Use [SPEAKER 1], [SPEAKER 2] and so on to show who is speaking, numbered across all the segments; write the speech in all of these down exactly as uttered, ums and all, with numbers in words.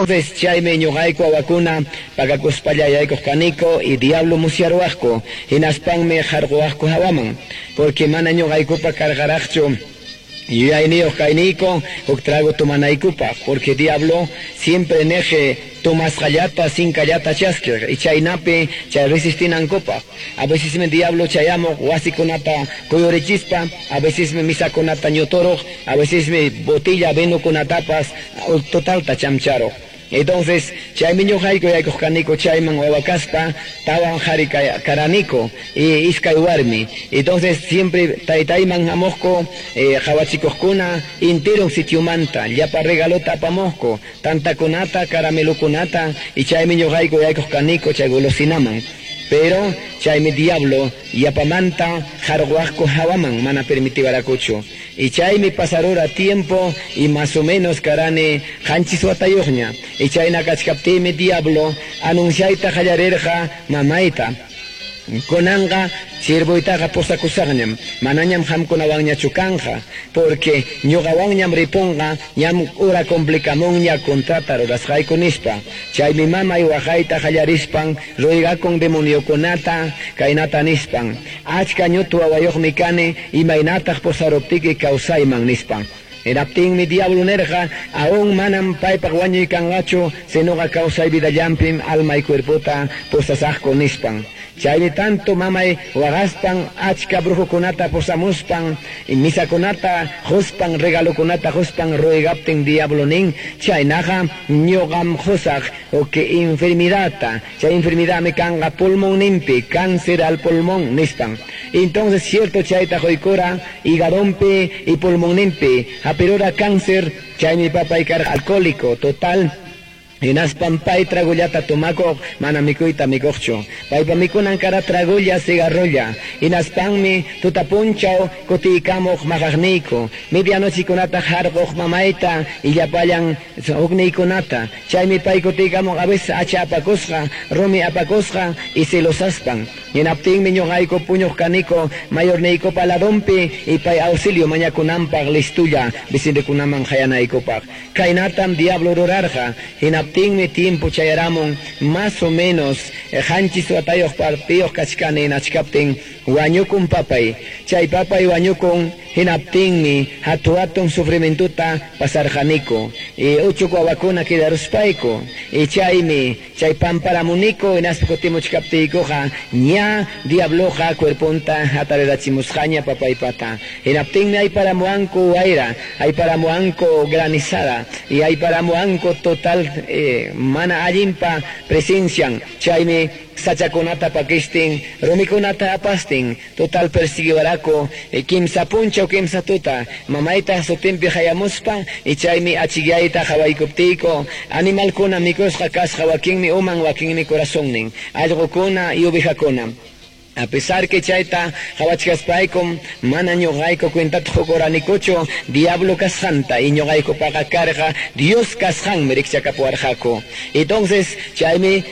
[SPEAKER 1] Entonces chaymi ñuqayku wawakuna pakakuspalla yaykuq kaniko y diablo musyaruwaqku, hinaspanmi qarquwaqku hawaman, porque mana ñuqaykupa karqaraqchu yuyayniyuq kayniyku huk trago tomanaykupaq, porque diablo siempre niq tomasqallata sinkallata chaskiq y chaynapi chay resistinankupaq. A vecesmi diablo chayamuq wasikunata kuyurichispa, a vecesmi misakunata ñuturuq, a vecesmi botella vinokunatapas totalta chamcharuq. Entonces, chaymi ñuqayku yaykuq kaniko chayman wawa kaspa, tawan qhari karaniko y iskay warmi. Entonces, siempre taytayman hamuqku eh, qhawachikuqkuna enteron sitiomanta, llapa regalota apamuqku, tantakunata, caramelokunata, y chaymi ñuqayku yaykuq kaniko chay golosinaman. Pero chaymi diablo yapamanta qarquwaqku hawaman mana permitiwarakuchu. Y chaymi pasarura tiempo y más o menos karani qanchis watayuqña. Y chayna kachkaptiymi diablo anunciayta qallarirqa mamayta. Kunanqa siervoytaqa posakusaqñam, manañam qamkunawanñachu kanqa, porque ñuqawanñam ripunqa, ñam ura complicamunña contrata rurasqayku nispa. Chaymi mamay waqayta qallarispan ruegakun demoniokunata kaynata nispan. Achka ñutu wawayuqmi kani, imaynataq posaruptiki kawsayman nispan. Hinaptinmi diablo nirqa, aún manam paypaq wañuy kanqachu, sinuqa kawsay vidallampim alma y cuerpota posasaqku nispan. Chaymi tanto mamay waqaspan achka brujokunata posamuspan, y misakunata quspan, regalokunata quspan ruegaptin diablo nin, chaynaqa ñuqam qusaq o que enfermidadta, chay enfermidadmi kanqa pulmonninpi, cáncer al pulmón nispan. Entonces cierto chayta quykura hígadonpi y pulmonninpi, hapirura cáncer, chaymi papay karqa alcohólico total. Hinaspan pay tragullata tomakuq, mana mikuyta mikuqchu. Paypa mikunan kara tragulla, cigarrolla. Hinaspanmi tutapunchaw kutiykamuq maqaqniyku. Medianochikunata harquq mamayta y llapallan hukniykunata. Chaymi pay kutiykamuq a veces hacha apakusqa, rumi apakusqa y celosaspan. Hinaptinmi ñuqayku puñuq kaniko mayorniykupa ladonpi y pay auxilio mañakunanpaq listulla vecinokunaman qayanaykupaq. Kaynatam diablo rurarqa. Hinaptinmi tiempo chayaramun más o menos qanchis watayuq partiyuq kachkani nachkaptin wañukun papay. Chay papay wañukun hinaptinmi hatu hatun sufrimientuta pasarqaniku. Y uchuq wawakuna quedaruspayku. Y chaymi chay pamparamuniku hinaspa kutimuchkaptiykuqa ña diabloqa cuerponta hatarirachimusqaña papaypata. Hinaptinmi ayparamuwanku wayra, ayparamuwanku granizada y ayparamuwanku total eh, mana allinpa presencian. Chaymi sachakunata pakistin, rumikunata apastin, total persiguiwaraku, eh, kimsa punchaw kimsa tuta, mamayta sutinpi hayamuspa, y chaymi achikyayta qawaykuptiyku, animalkuna mikusqa kasqa wakinmi uman wakinmi corazonnin, allqukuna y ovejakuna. A pesar que chayta qhawachkaspaykum mana ñuqayku cuentata qukuranikuchu diablo kasqanta y ñuqaykupaqa karqa Dios kasqanmi rikchakapuwarqaku. Entonces chaymi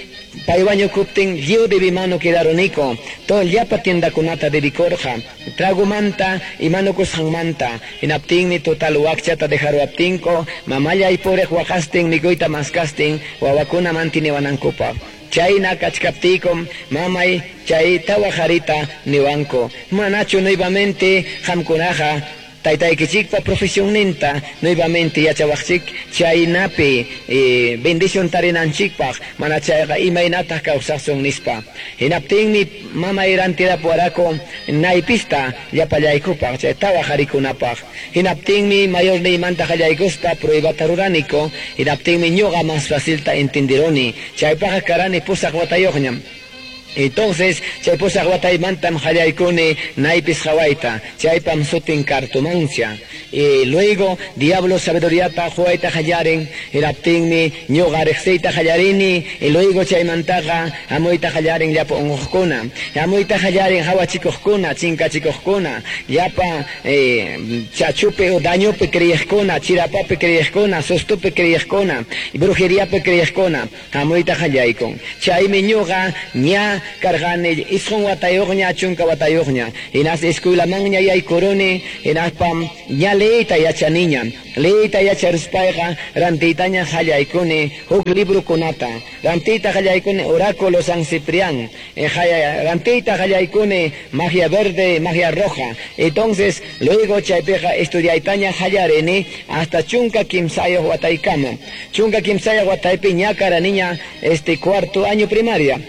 [SPEAKER 1] pay wañukuptin lliw debimano quedaruniku, todo llapa tiendakunata dedikorqa, tragomanta y manukusqanmanta. Hinaptinmi total wakchata dejaruwaptinku, mamallay puriq waqastin mikuyta maskastin wawakuna mantiniwanankupaq. Chayna kachkaptiykum mamay chay tawa qharita niwanku, manachu nuevamente qamkunaqa taytaykichikpa profesionninta nuevamente yachawaqchik chaynapi eh, bendición tarinanchikpaq mana chayqa imaynataq kawsasun nispa. Hinaptinmi mamay rantirapuwaraku naypista llapallaykupaq chay tawa qharikunapaq. Hinaptinmi mayorniymanta qallaykuspa pruebata ruraniku. Hinaptinmi ñuqa más facilta entenderoni. Chaypaqqa karani pusaq watayuqñam. Entonces, chay pusaq wataymantam qallaykuni naypis qhawayta, chaypam sutin cartomancia. Y luego, diablo sabiduriata quwayta qallarin, hinaptinmi ñuqa riqsiyta qallarini, y luego chaymantaqa hamuyta qallarin llapa unquqkuna, hamuyta qallarin hawachikuqkuna, chinkachikuqkuna, llapa eh, chachupi o dañopi creyiqkuna, chirapapi creyiqkuna, sustupi creyiqkuna, brujeriapi creyiqkuna, hamuyta qallaykun. Chaymi ñuqa ña karqani isqun watayuqña chunka watayuqña. Hinas escuelamanña yaykuruni, hinaspam ña leeyta yachaniña. Leeyta yacharuspayqa rantiytaña qallaykuni huk librokunata. Rantiyta qallaykuni Oráculo San Ciprián. Rantiyta qallaykuni Magia Verde, Magia Roja. Entonces, luego chaypiqa estudiaytaña qallarini hasta chunka kimsayuq wataykama. Chunka kimsayuq wataypi ña karaniña este cuarto año primaria.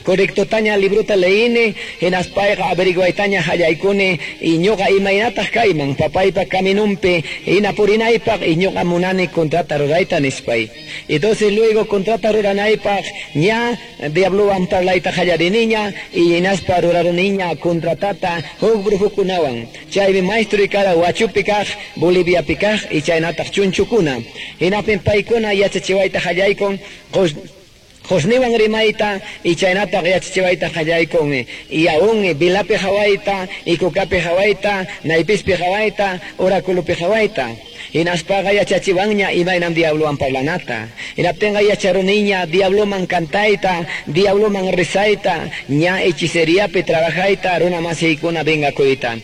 [SPEAKER 1] Correctotaña librota leini, hinaspayqa averiguaytaña hallaykuni, y ñuqa imaynataq kayman, papaypa caminumpi, hinapurinaypaq, y ñuqa munani contrata rurayta nispay. Entonces luego contrata ruranaypaq, ña diablowan parlayta qallariniña, y hinaspa ruraruniña contratata huk brujukunawan. Chaymi maestro kara Huachupi kaq, Boliviapi kaq, y chaynataq chunchukuna. Hinapin paykuna yachachiwayta hallaykun, Josniwan rimayta y chaynataq yachachiwayta qallaykun y aún vilapi hawayta y kukapi hawayta naypispi hawayta oráculopi hawayta. Hinaspaqa yachachiwanña imaynam diablowan parlanata. Hinaptinqa yacharuniña diabloman cantayta, diabloman rezayta, ña hechiceriapi trabajayta, runa masiykuna vengakuyta.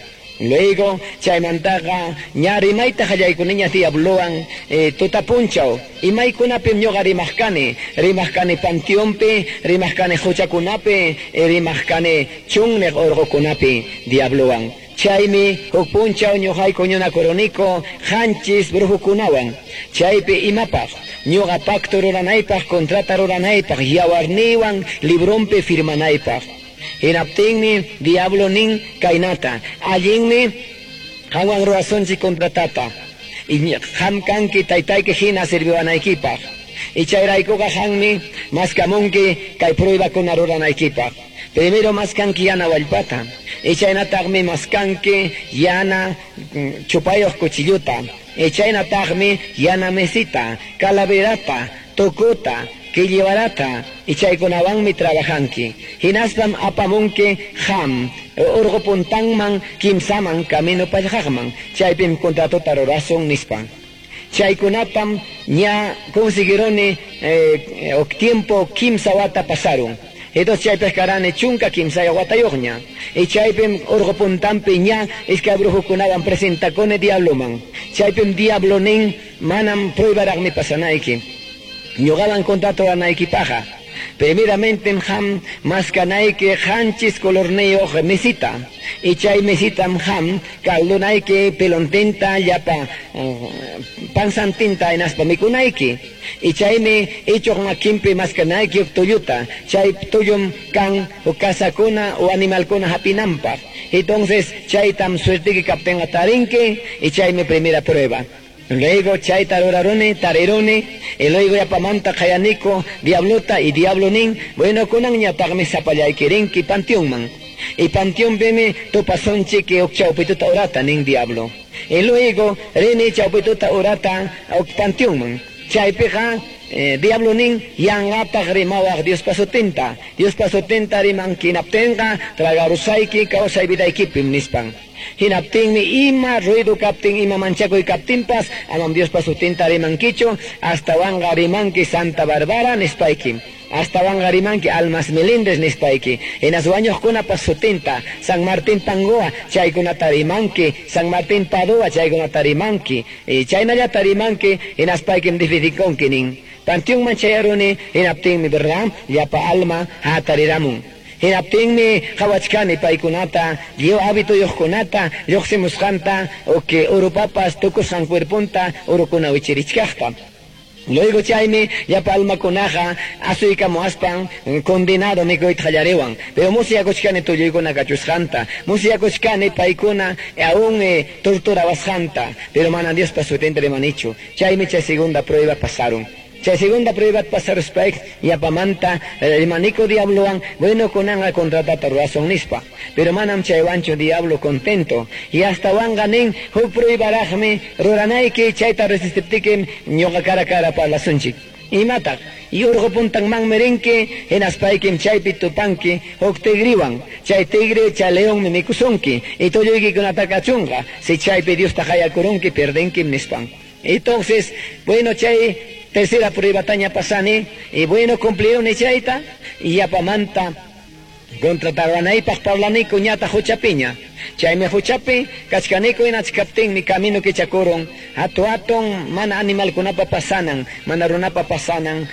[SPEAKER 1] Luego, chaymantaqa ña rimayta qallaykuniña diablowan eh, tutapunchaw. Imaykunapim ñuqa rimaqkani, rimaqkani panteonpi, rimaqkani quchakunapi, eh, rimaqkani chunniq urqukunapi diablowan. Chaymi huk punchaw ñuqayku ñunakuruniku qanchis brujukunawan. Chaypi imapaq ñuqa pacto ruranaypaq, contrata ruranaypaq, yawarniwan librompi firmanaypaq. Hinaptinmi diablo nin kaynata, allinmi qanwan rurasunchik contratata, y qam kanki taytayki hina sirviwanaykipaq, y chayraykuqa qanmi maskamunki kay pruebakuna ruranaykipaq. Primero maskanki yana wallpata, y chaynataqmi maskanki yana chupayuq cuchilluta, y chaynataqmi yana mesita, calaverata, tukuta, quilliwarata, y chaykunawanmi trabajanki. Hinaspam apamunki ham, urqu puntanman, kimsaman, camino pallqaqman, chaypim contratota rurasun nispa. Chaykunatam ña conseguironi eh, tiempo kimsa wata pasaron. Entonces chaypis karani chunka kimsayuq watayuqña. Y chaypim urqu puntanpi ña iskay brujukunawan presentakuni diabloman. Chaypim diablo nin manam pruebaraqmi pasanayki. Ñuqawan contrato ruranaykipaqa. Primeramente ham maskanayki qanchis colorniyuq mesita. Y chay mesitam ham caldunayki pelontinta llapa uh, pansantinta hinaspa mikunayki. Y chaymi ichuq makinpi maskanayki huk tulluta. Chay tullum kan huk kasakuna o animalkuna hapinanpaq. Entonces chaytam suertiki kaptinqa tarinki y chaymi primera prueba. Luego chayta ruraruni, tariruni, y luego yapamanta qayaniko, diablota y diablo nin, bueno kunanñataqmi sapallaykirinki panteonman. Y panteonpimi tupasunchik huk chawpituta urata nin diablo. Y luego rini chawpituta urata huk panteonman. Chaypiqa eh, diablo nin yanqataq rimawaq Diospa sutinta. Diospa sutinta rimanki hinaptinqa tragarusayki kawsay vidaykipim nispan. Hinaptinmi ima ruido kaptin, ima manchakuy kaptinpas, amam Diospa sutinta rimankichu, astawanqa rimanki Santa Bárbara nispayki. Astawanqa rimanki Almas Melindres nispayki. Hinas wañuqkunapas sutinta, San Martín Pangoa, chaykunata rimanki, San Martín Padua, chaykunata rimanki. Y chaynallata rimanki, hinaspaykim difidikonki nin. Panteonman chayaruni, hinaptinmi, verdad, llapa alma hatariramun. Hinaptinmi qhawachkani paykunata, lliw hábitoyuqkunata, lluqsimusqanta, o que urupapas tukusqan cuerpunta urukuna wichirichkaqta. Luego chaymi llapa almakunaqa asuykamuaspan condenado mikuyta qallariwan. Pero musyakuchkani tulluykuna kachusqanta, musyakuchkani paykuna aún eh, torturawasqanta, pero mana Diospa sutinta rimanichu. Chaymi chay segunda prueba pasaron. Chay segunda prueba pasaruspayk yapamanta rimaniko diablowan, bueno kunanqa contratata rurasun nispa. Pero manam chaywanchu diablo contento. Y hasta wanqa nin huk pruebaraqmi ruranayki chayta resistiptikim ñuqa cara cara parlasunchik. Imataq y urqu puntanmanmi rinki hinaspaykim chaypi tupanki huk tigriwan. Chay tigre chay leonmi mikusunki y tulluykikunata kachunqa. Si chaypi Diosta qayakurunki perdenkim nispan. Entonces, bueno, chay tercera prueba taña pasani, y bueno, cumplieron chayta, y yapamanta Contrataruwanaypaq parlaniku ñataq huchapiña. Chaymi huchapi kachkaniku hinachkaptinmi camino kichakurun. Hatu hatun mana animalkunapa pasanan, mana runapa pasanan.